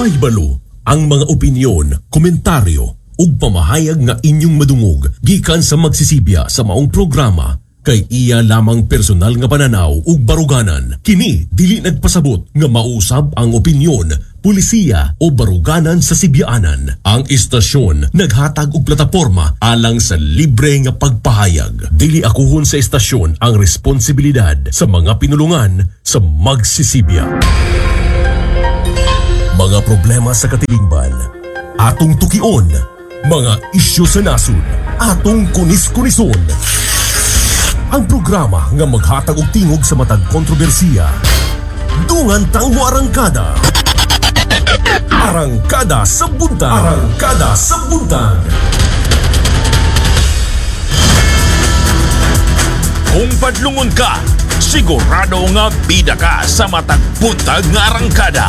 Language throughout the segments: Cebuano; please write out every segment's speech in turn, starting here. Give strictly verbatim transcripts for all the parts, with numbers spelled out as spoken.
Pahibalo ang mga opinyon, komentaryo ug pamahayag nga inyong madungog gikan sa magsisibya sa maong programa kay iya lamang personal nga pananaw ug baruganan. Kini dili nagpasabot nga mausab ang opinyon, pulisiya o baruganan sa Sibyaanan. Ang istasyon naghatag og plataporma alang sa libre nga pagpahayag. Dili akuhon sa istasyon ang responsibilidad sa mga pinulungan sa magsisibya. Mga problema sa katilingban, atong tukion, mga isyu sa nasod, atong kunis-kunison. Ang programa nga maghatag og tingog sa matag kontrobersiya. Dungan tang moarangkada. Arangkada sa Buntag. Arangkada sa Buntag. Kung padlungon ka, sigurado nga bida ka sa matag buntag nga arangkada.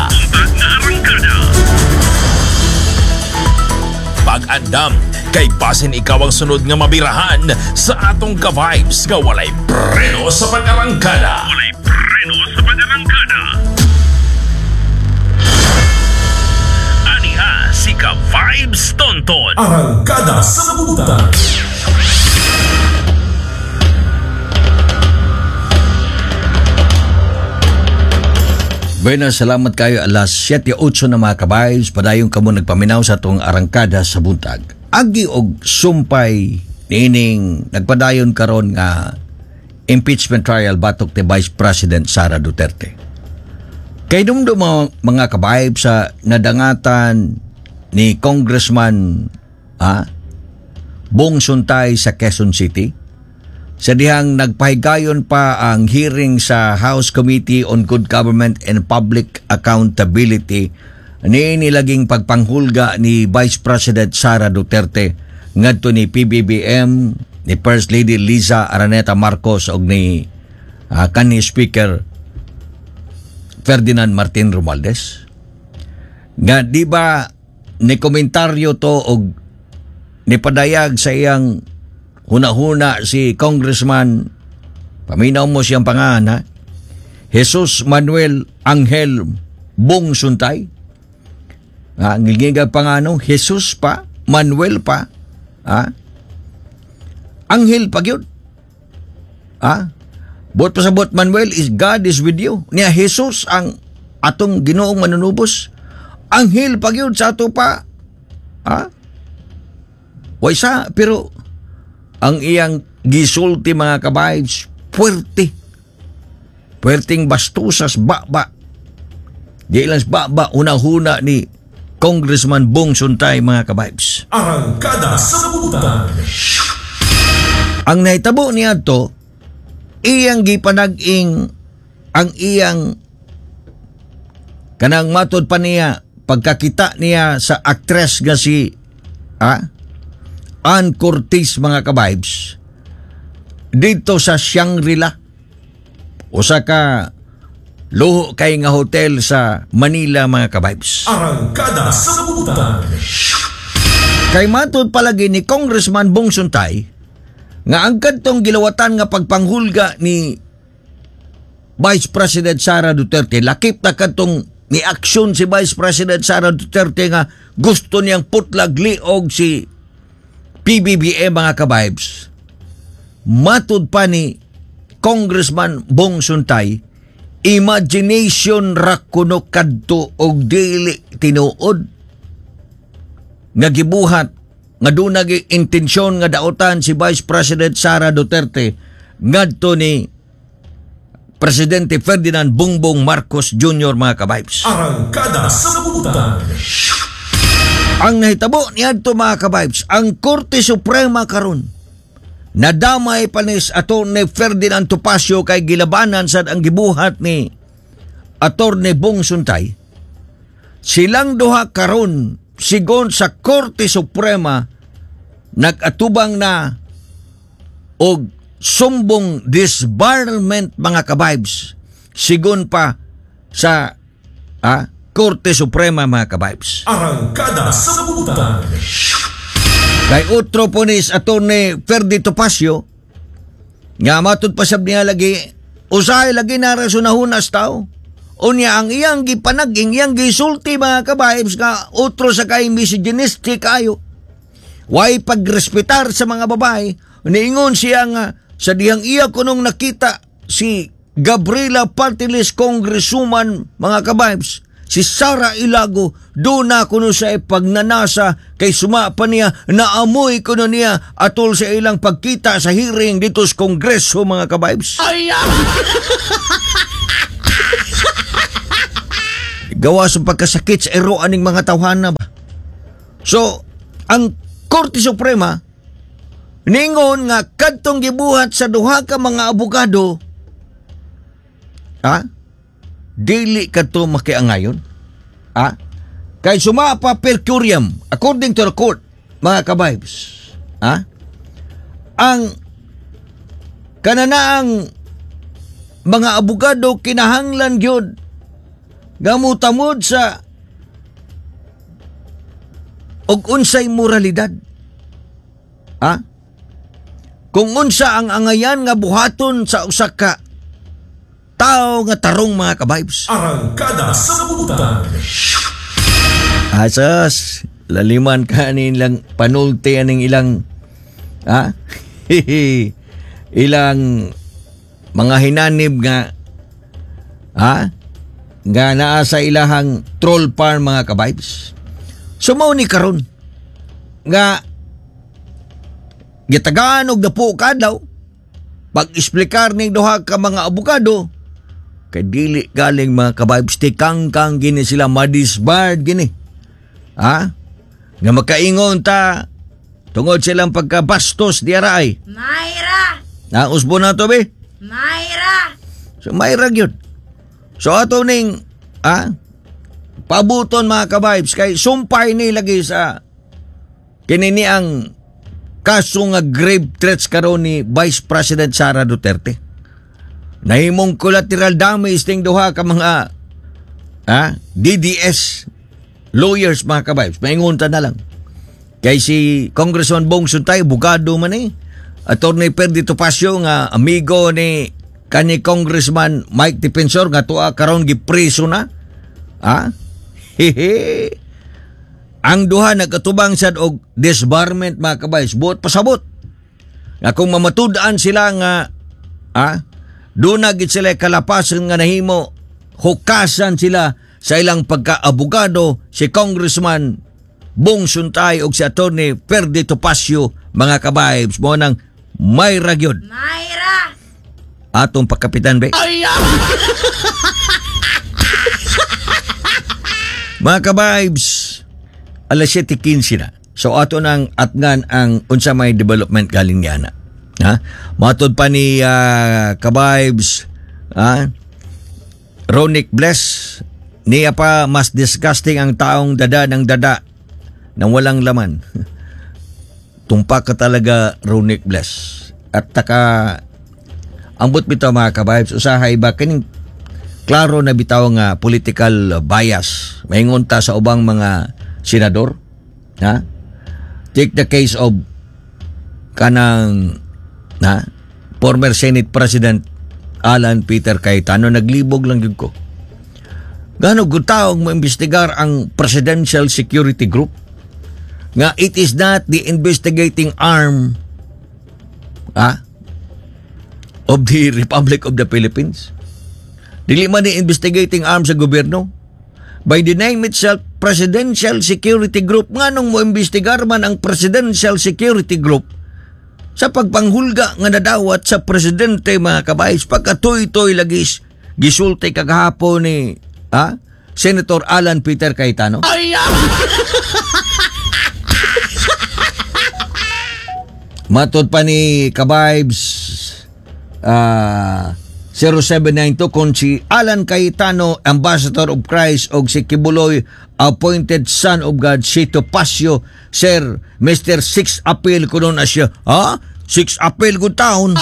Pag-andam, kay basin ikaw ang sunod nga mabirahan sa atong ka-vibes nga walay preno sa pag-arangkada. Walay preno sa pag-arangkada. Aniha si Ka-Vibes Tonton. Arangkada sa Buntag. Bueno, salamat kayo alas siyete otso na, mga ka-vibes. Padayon kamo nagpaminaw sa atong Arangkada sa Buntag. Agi og sumpay niining nagpadayon karon nga impeachment trial batok ni Vice President Sara Duterte. Kay dumdum mga, mga ka-vibes, sa nadangatan ni Congressman ah, Bong Suntay sa Quezon City, sa dihang nagpahigayon pa ang hearing sa House Committee on Good Government and Public Accountability ni nilaging pagpanghulga ni Vice President Sara Duterte ngadto ni P B B M, ni First Lady Liza Araneta Marcos og ni uh, kanhi Speaker Ferdinand Martin Romualdez. Nga di ba ni komentaryo to og nipadayag sa iyang huna-huna si Congressman, paminaw mo siyang pangalan ha, Jesus Manuel Angel Bong Suntay. Ha, gigigag pangano, Jesus pa, Manuel pa, ha? Angel pa gyud. Ha? Buot pasabot Manuel is God is with you. Niya Jesus ang atong Ginoong manunubos. Anghel pa gyud sa ato pa. Ha? Way sa, pero ang iyang gisulti, mga ka-vibes, puwerte. Puwerteng bastusas, ba-ba. Di lang ba-ba, una-huna ni Congressman Bong Suntay, mga ka-vibes. Arangkada sa Buntag. Ang nahitabo niya to, iyang gipanag-ing ang iyang kanang matod pa niya pagkakita niya sa actress nga si ah, Ann Curtis, mga ka-vibes, dito sa Shangri-La, usa ka luho kay nga hotel sa Manila, mga ka-vibes. Arangkada sa Buntag. Kay matod palagi ni Congressman Bong Suntay nga ang kadtong gilawatan nga pagpanghulga ni Vice President Sara Duterte, lakip na kadtong ni aksyon si Vice President Sara Duterte nga gusto niyang putlag liog si P B B M, mga ka-vibes. Matud pa ni Congressman Bong Suntay, imagination ra kuno kadto og dili tinuod nga gibuhat nga doon nagi intensyon nga daotan si Vice President Sara Duterte ngadto ni Presidente Ferdinand Bongbong Marcos Junior, mga ka-vibes. Arangkada sa Buntag. Ang nahitabo niadto, mga ka-vibes, ang Korte Suprema karon nadamay panis Attorney Ferdinand Topacio kay gilabanan sad ang gibuhat ni Attorney Bong Suntay. Silang duha karon sigon sa Korte Suprema nag-atubang na og sumbong disbarment, mga ka-vibes, sigon pa sa ah, Korte Suprema, mga ka-vibes. Arangkada sa Buntag. Kay otro po ni Attorney Ferdy Topacio nga matud pa sab niya lagi usahay lagi na rasonahunas tao. Unya ang iyang gipanaging, iyang gisulti, mga ka-vibes, nga otro sa kay misogynistic kayo. Way pagrespetar sa mga babae. Niingon siya nga sa dihang iya kunong nakita si Gabriela Party List Congresswoman, mga ka-vibes, si Sara Elago, doon na kuno sa pagnanasa kay suma pa niya naamoy kuno niya atol sa ilang pagkita sa hearing dito sa Kongreso, mga ka-vibes. Gawa sa pagkasakit sa ero aning mga tawhana ba. So, ang Korte Suprema ningon nga kadtong gibuhat sa duha ka mga abogado, ha? Dili kadto makiangayon. Ha? Kay suma pa per curiam according to the court, mga ka-vibes. Ha? Ang kananaang mga abogado kinahanglan gyud nga motamod sa og unsay moralidad. Ha? Kung unsa ang angayan nga buhaton sa usa ka tao nga tarong, mga ka-vibes. Arangkada sa Butang. Asas, laliman ka nilang panulti aning ilang, ha? Ilang mga hinanib nga, ha? Nga naa sa ilahang troll farm, mga ka-vibes. So mao ni karon nga gitagaan og napo kadlaw pag-explicar ning duha ka mga abogado kay dili galing, mga ka-vibes, tikangkang gini sila madisbarred gini. Ha? Nga makaingon ta tungod silang pagkabastos di aray. Mayra! Na usbo na to be. Mayra! So mayra gyud. So ato ning, ha, pabuton, mga ka-vibes, kay sumpay ni lagi sa kini ni ang kaso nga grave threats karon ni Vice President Sara Duterte. Nahimong collateral damage ting duha ka mga, ha, D D S lawyers, mga ka-vibes. Maingon ta na lang. Kay si Congressman Bong Suntay, abogado man eh. Attorney Perdi Topacio nga amigo ni kani Congressman Mike Defensor nga tuwa karon gipreso na. Ha? Hehe. Ang duha nagkatubang sad og disbarment, mga ka-vibes, buot pasabot. Nga kung mamatud-an sila nga, ha, doon na gid sila kalapasan nga nahimo hukasan sila sa ilang pagkaabogado si Congressman Bong Suntay og si Attorney Perdi Topacio, mga ka-vibes, mo nang may ragyod Mayra! Atong pagkapitan be. Mga ka-vibes, alas siyete kinse na. So ato nang atngan ang unsa may development galing niya na. Ha? Matod pa ni uh, ka-vibes, ha? Ronick Bless, niya pa mas disgusting ang taong dada ng dada nang walang laman. Tumpak ka talaga, Ronick Bless. At taka ambot bitaw, mga ka-vibes, usahay ba kining klaro na bitaw nga political bias. Maingon ta sa ubang mga senador. Ha? Take the case of kanang na former Senate President Alan Peter Cayetano, naglibog lang gyud ko. Gano gutaong mo imbestigar ang Presidential Security Group nga it is not the investigating arm, ah, of the Republic of the Philippines. Dili man ni investigating arm sa gobyerno. By the name itself, Presidential Security Group, nganong mo imbestigar man ang Presidential Security Group sa pagpanghulga nga nadawat sa presidente, mga ka-vibes, pagkatuy-toy lagis gisulti kagahapon ni, ha, Senator Alan Peter Cayetano. Matod pa ni ka-vibes ah zero seven nine two, kung si Alan Cayetano, Ambassador of Christ, og si Quiboloy, appointed son of God, si Topacio, Sir, Mister Six Appeal kuno na siya. Ha? Six Appeal good town.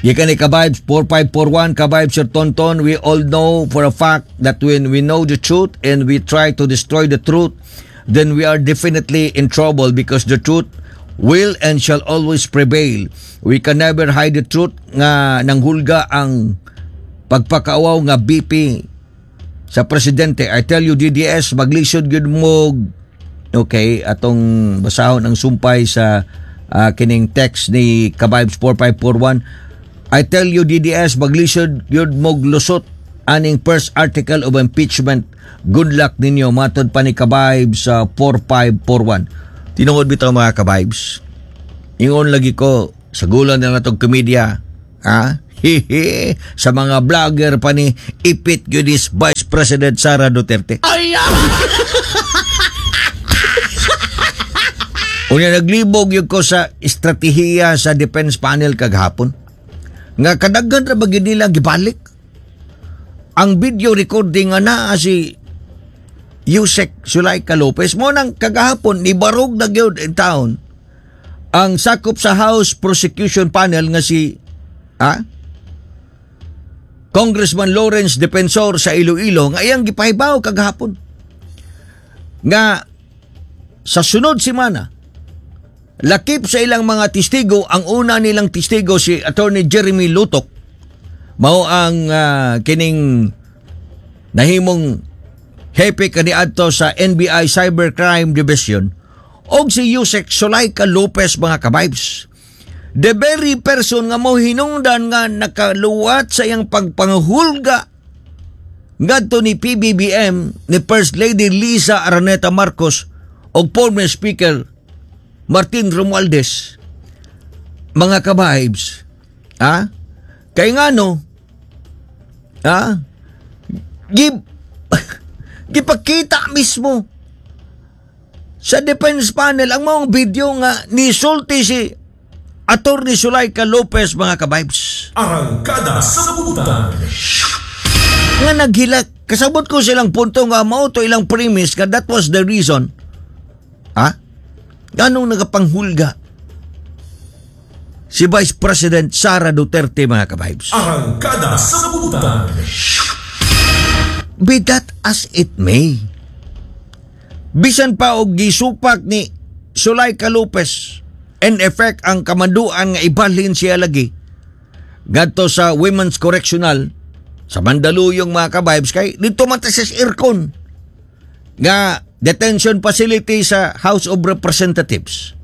Gikan ni ka-vibes four five four one, ka-vibes Sir Tonton, we all know for a fact that when we know the truth and we try to destroy the truth, then we are definitely in trouble because the truth will and shall always prevail. We can never hide the truth nga nanghulga ang pagpakaawaw nga V P sa presidente. I tell you, D D S, maglisod gyud mo. Okay, atong basahon ang sumpay sa ah, kining text ni Kabibes four five four one. "I tell you, D D S, maglisod gyud mog lusot aning first article of impeachment. Good luck ninyo," matod pa ni Kabibes sa four five four one. Tinuod bitaw, mga kabibes. Ingon lagi ko, sagulan na natong komedya. Ha? Hihi. Sa mga vlogger pa ni ipit gyud is Vice President Sara Duterte. Ay! Unya naglibog gyud ko sa estratehiya sa defense panel kagahapon. Nga kadaghan ra ba gyud nila gibalik ang video recording nga naa si Usec Zuleika Lopez mo nang kagahapon nibarog na gyud in town ang sakop sa House Prosecution Panel nga si ah, Congressman Lawrence Defensor sa Iloilo nga iyang gipahibaw kagahapon nga sa sunod semana, lakip sa ilang mga testigo, ang una nilang testigo si Attorney Jeremy Lotoc, mao ang ah, kining nahimong hepe kaniadto sa N B I Cybercrime Division, og si Usec Zuleika Lopez, mga kabibes. The very person nga mo hinungdan nga nakaluwat sa iyang pagpanghulga ngadto ni P B B M, ni First Lady Lisa Araneta Marcos og former Speaker Martin Romualdez, mga kabibes. Ha? Kay ngano? Ha? Gib gipakita mismo sa defense panel ang mga video nga nisulti si Attorney Zuleika Lopez, mga kabibes. Arangkada sa Butan. Nga naghilak. Kasabot ko silang punto nga mao to ilang premise nga that was the reason. Ha? Ganong nagapanghulga si Vice President Sara Duterte, mga kabibes. Arangkada sa Butan. Be that as it may. Bisan pa og gisupak ni Zuleika Lopez in effect ang kamanduan nga ibalhin siya lagi ngadto sa Women's Correctional sa Mandaluyong, mga kabibes, kay dito man ta sa aircon nga detention facility sa House of Representatives.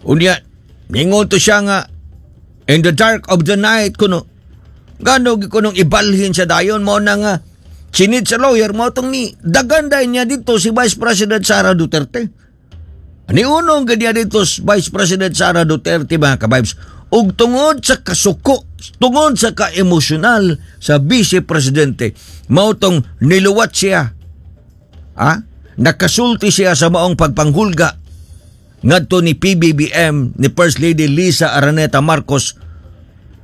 Unya, ningon to siya nga in the dark of the night kuno. Gano gi kunong ibalhin siya dayon mo na nga sinid sa lawyer mo tong ni dagan dahil niya dito si Vice President Sara Duterte. Ani unong ganyan dito si Vice President Sara Duterte, mga kabibes. Ug tungod sa kasuko, tungod sa ka-emosyonal sa Vice Presidente, mao tong niluwat siya. Ha? Nakasulti siya sa maong pagpanghulga ngadto ni P B B M, ni First Lady Lisa Araneta Marcos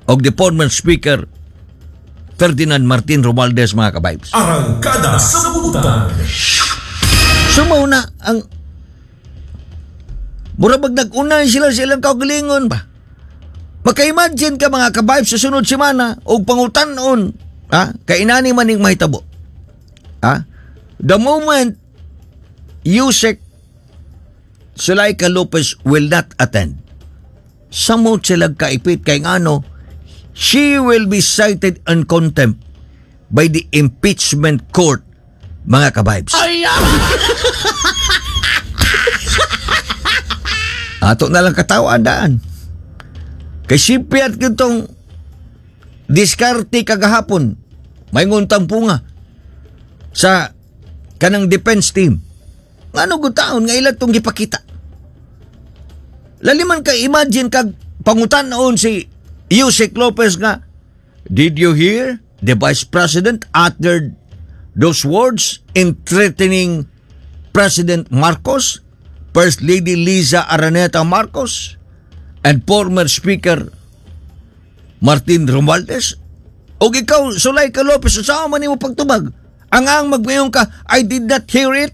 og the former Speaker Ferdinand Martin Romualdez, mga kabibes. Arangkada sa Butan. Sumaw na ang mura bag nag-unay sila sa ilang kaugalingon ba? Maka-imagine ka, mga kabibes, sa sunod semana og pangutan-on, ha? Kay inani man ning mahitabo. Ha? The moment Usec Zuleika Lopez will not attend, samot sila kaipit kay ngano she will be cited in contempt by the impeachment court, mga kabibes. Ay! Ato na lang katawaan daan. Kay sipyat kitong diskarte kagahapon, may nguntang punga sa kanang defense team. Ngano gud taon nga ila tong gipakita? Laliman ka imagine kag pangutan-on si Usec Lopez nga, "Did you hear the Vice President uttered those words in threatening President Marcos, First Lady Lisa Araneta Marcos, and former Speaker Martin Romualdez?" Og ikaw, Zuleika Lopez, sa man nimo pagtubag? Ang ang magmayon ka, "I did not hear it."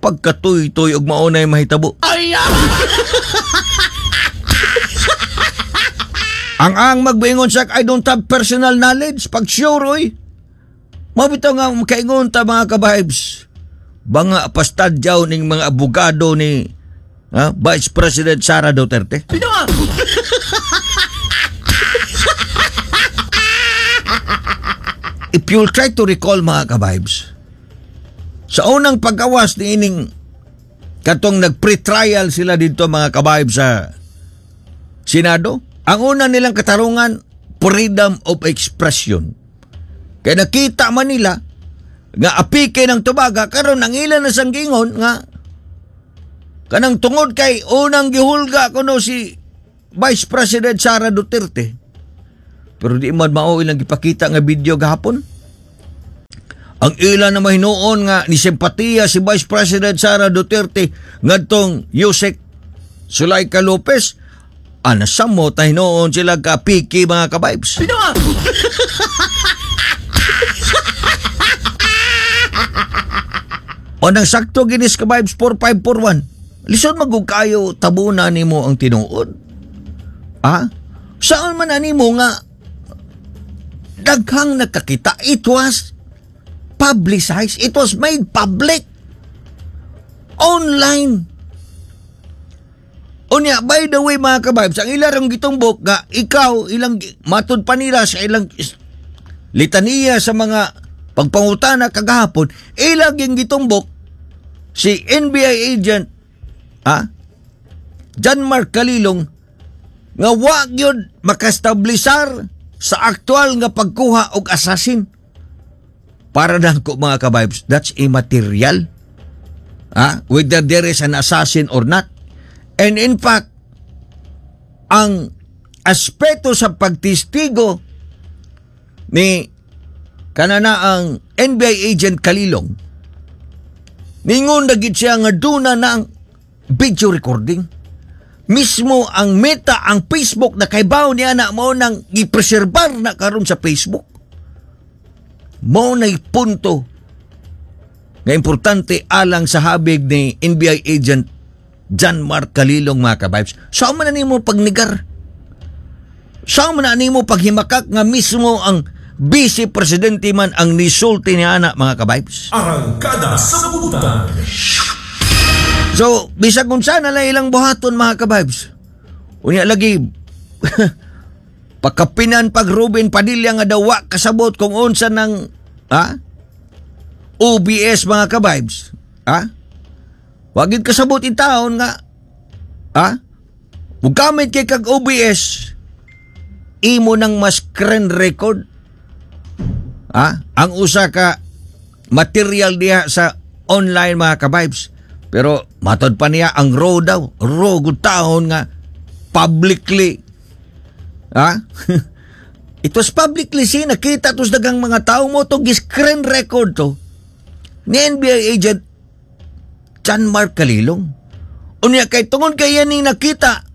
Pagkatuy-tuy og maunay mahitabo. Ay! Ang ang magbaingon sa "I don't have personal knowledge." Pag sure, oy. Mabitaw nga makaingon ta, mga kabibes. Banga pastadyaw ning mga abogado ni Ha? Vice President Sara Duterte. If you'll try to recall, mga ka-vibes, sa unang pag-awas ni ining katong nag-pre-trial sila dito, mga ka-vibes, sa Senado, ang una nilang katarungan, freedom of expression. Kaya nakita man nila nga apike ng tubaga, karon ang ilan na sanggingon nga kanang tungod kay unang gihulga kuno si Vice President Sara Duterte. Pero di man mao ilang gipakita nga video gahapon. Ang ilan na mahinuon nga ni simpatiya si Vice President Sara Duterte ngadtong Yusek Zuleika Lopez, anasamo ta hinuon sila ka piki, mga ka-vibes. O nang sakto ginis ka-vibes four five four one. Lisod magug kayo tabuna nimo ang tinuod. Ah? Saan man animo nga daghang nakakita? It was publicized. It was made public. Online. Unya, by the way mga ka-vibes, ang ilang gitumbok nga ikaw ilang matud pa nila sa ilang litaniya sa mga pagpangutana kagahapon, ilang gitumbok si N B I agent ah, John Mark Kalilong nga wa gyud makastablisar sa aktual nga pagkuha og assassin. Para nako mga ka-vibes, that's immaterial. Ah, whether there is an assassin or not. And in fact, ang aspeto sa pagtistigo ni kanana ang N B I agent Kalilong, ningon na gid siya nga duna na ang video recording. Mismo ang Meta, ang Facebook na kaybaw niya na mao nang gipreserbar na karon sa Facebook. Mao na'y punto nga importante alang sa habig ni N B I agent John Mark Kalilong, mga ka-vibes. Saan man na nimo pagnigar? Saan man na nimo paghimakak nga mismo ang Vice Presidente man ang nisulti ni ana, mga ka-vibes? Arangkada sa butan. So, bisag kung sana lang ilang buhaton, mga ka-vibes. Unya lagi, pagkapinan pag Ruben Padilla nga daw wa kasabot kung unsa ng, ha? O B S, mga ka-vibes. Ha? Wagid kasabot in taon nga, ha? Mugamit kay kag O B S, imo nang mas screen record. Ha? Ang usa ka material diha sa online, mga ka-vibes. Pero matod pa niya ang raw daw, raw gud taon nga publicly. Ha? It was publicly seen, nakita tos dagang mga tao mo to gi-screen record to ni N B I agent John Mark Kalilong. Unya kay tungod kay yan ning nakita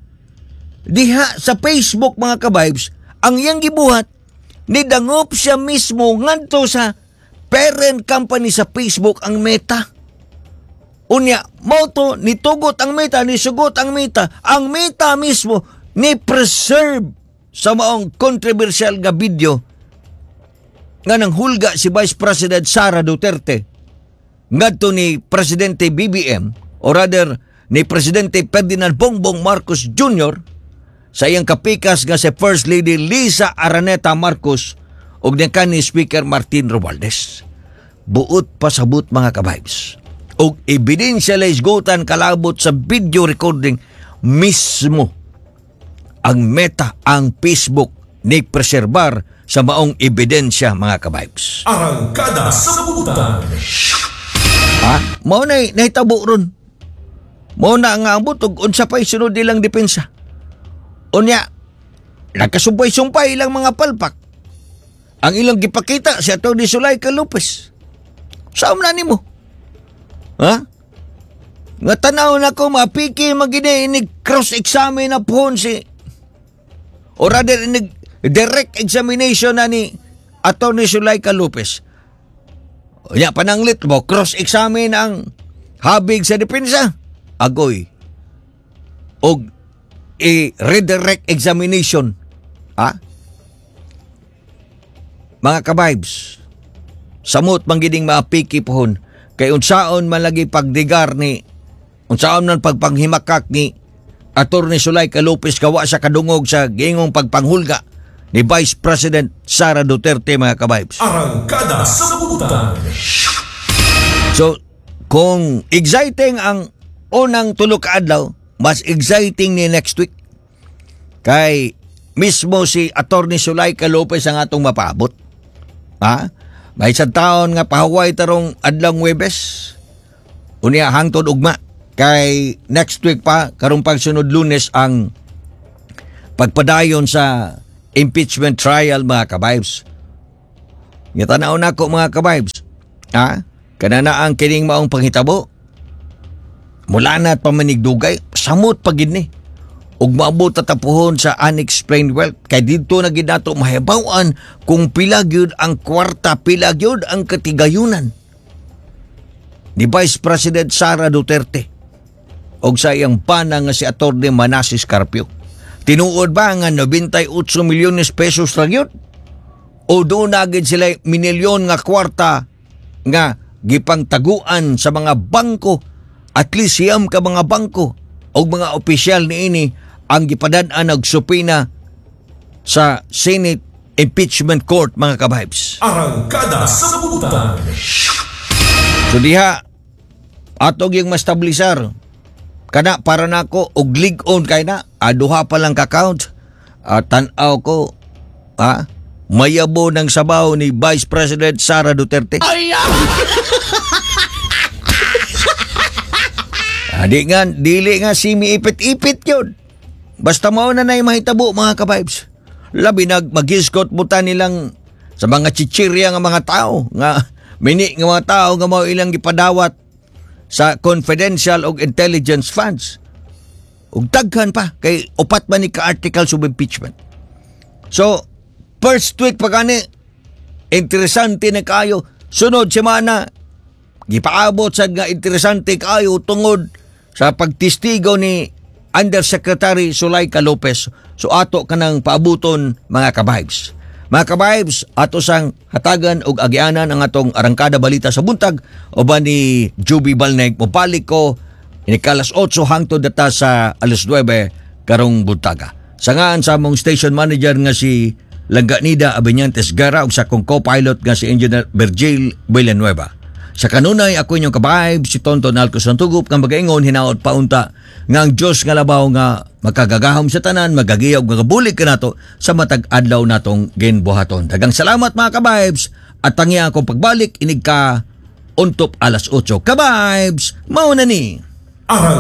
diha sa Facebook, mga ka-vibes, ang iyang gibuhat nidangop siya mismo ngadto sa parent company sa Facebook, ang Meta. Unya, mao to, nitugot ang Meta, nisugot ang Meta. Ang Meta mismo ni preserve sa maong controversial nga video nga nanghulga si Vice President Sara Duterte ngadto ni Presidente B B M, or rather ni Presidente Ferdinand Bongbong Marcos Junior sa iyang kapikas nga si First Lady Lisa Araneta Marcos ug ni kanhi Speaker Martin Romualdez. Buot pasabot, mga ka-vibes, og ebidensya laisgutan kalabot sa video recording mismo ang Meta, ang Facebook ni preserbar sa maong ebidensya, mga ka-vibes. Arangkada sa butan. Ha? Mao na nahitabo ron. Mao na nga ang butog unsa pay sunod nilang depensa. Unya, nagkasumpay-sumpay ilang mga palpak. Ang ilang gipakita si Atty. Zuleika Lopez. Saan na nimo? Ha? Nga tanaw na ko, mapiki magini inig cross-examine na pohon si, or rather inig direct examination na ni Atty. Zuleika Lopez. Unya, pananglit mo, cross-examine ang habig sa depensa. Agoy. Og i-redirect examination. Ha? Mga ka-vibes, samot manggining maapiki pohon, kay unsaon man lagi pagdigar ni Unsaon man pagpanghimakak ni Attorney Zuleika Lopez gawa sa kadungog sa giingong pagpanghulga ni Vice President Sara Duterte, mga ka-vibes. Arangkada sa Buntag. So, kung exciting ang unang tulo ka adlaw, mas exciting ni next week. Kay mismo si Attorney Zuleika Lopez ang atong mapaabot. Ha? May isang taon nga pahuway tarong adlawng Webes. Unya hangtod ugma. Kay next week pa, karong pagsunod Lunes, ang pagpadayon sa impeachment trial, mga ka-vibes. Nga tanaw na ko, mga ka-vibes. Ha? Kanana ang kining maong panghitabo. Mula na at pamanigdugay, samot pa gid ni. Ug maabot tatapuhon sa unexplained wealth. Kay didto na gid nato mahibaw-an kung pila gyud ang kwarta, pila gyud ang katigayunan ni Vice President Sara Duterte og sa iyang pana nga si Attorney Manases Carpio. Tinuod ba nga labing-walo milyones pesos ra gyud? O doon na gid sila minilyon nga kwarta nga gipangtaguan sa mga bangko, at least siyam ka mga bangko o mga opisyal niini ang gipadad-an og subpoena sa Senate Impeachment Court, mga ka-vibes? Arangkada sa Buntag. So diha ato yung mastablisar kana para nako og lig-on kay na aduha pa lang ka count at tan-aw ko, ha, mayabo ng sabaw ni Vice President Sara Duterte. Ay! Ah, di nga, dili nga simi ipit-ipit yun. Basta mao na na'y mahitabo, mga ka-vibes. Labi nag magisgot buta nilang sa mga chichirya nga mga tao nga mini nga mga tao nga mao ilang gipadawat sa confidential og intelligence funds. Ug daghan pa kay upat man ni ka articles of impeachment. So, first week pa gani, interesante na kayo. Sunod semana, gipaabot sad nga interesante kayo tungod sa pagtestigo ni Undersecretary Zuleika Lopez. So ato kanang paabuton, mga ka-vibes. Mga ka-vibes, ato sang hatagan og agianan ang atong Arangkada Balita sa Buntag uban ni Juby Balneg. Mobalik ko inig alas otso hangtod data sa alas nuwebe karong buntaga. Sa ngaan sa among station manager nga si Langganida Abenyantes Gara ug sa akong co-pilot nga si Engineer Virgil Villanueva. Sa kanunay, ako inyong ka-vibe, si Tonton Alcos ng Tugup, nga magaingon, hinaot paunta nga ang Diyos nga labaw nga makagagahom sa tanan, magagiyaw, magabulig kanato sa matag adlaw natong ginbuhaton. Daghang salamat, mga ka-vibes, at tangya akong pagbalik inig ka untop alas otso. Ka-vibes, mao na ni. Arang